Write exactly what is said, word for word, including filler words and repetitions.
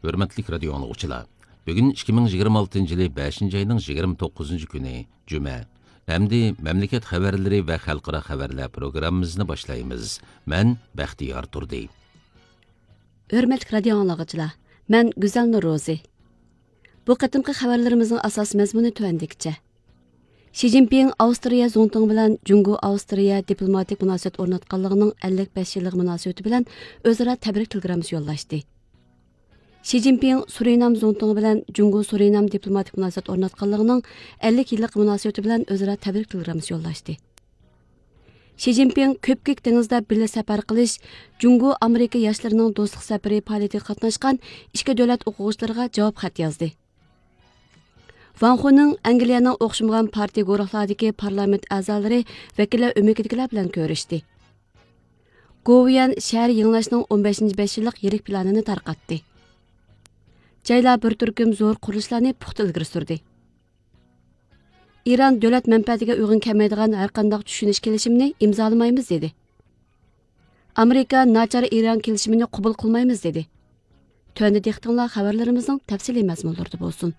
ھۆرمەتلىك رادىيو ئاڭلىغۇچىلار، بۈگۈن ئىككى مىڭ يىگىرمە ئالتىنچى يىلى بەشىنچى ئاينىڭ يىگىرمە توققۇزىنچى كۈنى، جۈمە. ئەمدى مەملىكەت خەۋەرلىرى ۋە خەلقئارا خەۋەرلەر پروگراممىمىزنى باشلايمىز. مەن بەختىيار تۇردى. ھۆرمەتلىك رادىيو ئاڭلىغۇچىلار، مەن گۈزەل نۇرروزى. بۇ قېتىمقى خەۋەرلىرىمىزنىڭ ئاساسىي مەزمۇنى تۆۋەندىكىچە. شى جىنپىڭ ئاۋسترىيە زۇڭتۇڭى بىلەن جۇڭگو ئاۋسترىيە دىپلوماتىك مۇناسىۋەت ئورناتقانلىقىنىڭ ئەللىك بەش يىللىقى مۇناسىۋىتى بىلەن ئۆزئارا تەبرىك تېلېگراممىسى يوللاشتى. شى جىنپىڭ سۇرىنام زۇڭتۇڭى بىلەن جۇڭگو سۇرىنام دىپلوماتىك مۇناسىۋەت ئورناتقانلىقىنىڭ ئەللىك يىللىقى مۇناسىۋىتى بىلەن ئۆزئارا تەبرىك تېلېگراممىسى يوللاشتى. شى جىنپىڭ كۆپكۆك دېڭىزدا بىللە سەپەر قىلىش، جۇڭگو ئامېرىكا ياشلىرىنىڭ دوستلۇق سەپىرى پائالىيىتىگە قاتناشقان ئىككى دۆلەت ئوقۇغۇچىلىرىغا جاۋاب خەت يازدى. ۋاڭ خۇنىڭ ئەنگلىيەنىڭ ئوخشىمىغان پارتىيە گۇرۇھلاردىكى پارلامېنت ئەزالىرى ۋەكىللەر ئۆمىكىدىكىلەر بىلەن كۆرۈشتى. گوۋۇيۈەن شەھەر يېڭىلاش نىڭ ئون بەشىنچى بەش يىللىق يىرىك پىلانىنى تارقاتتى. جايلار بىر تۈركۈم زور قۇرۇلۇشلارنى پۇختا ئىلگىرى سۈردى. ئىران دۆلەت مەنپەئەتىگە ئۇيغۇن كەلمەيدىغان ھەرقانداق چۈشىنىش كېلىشىمىنى ئىمزالىمايمىز دېدى. ئامېرىكا ناچار ئىران كېلىشىمىنى قوبۇل قىلمايمىز دېدى. تۆۋەندە دىققىتىڭلار خەۋەرلىرىمىزنىڭ تەپسىلىي مەزمۇنلىرىدا بولسۇن.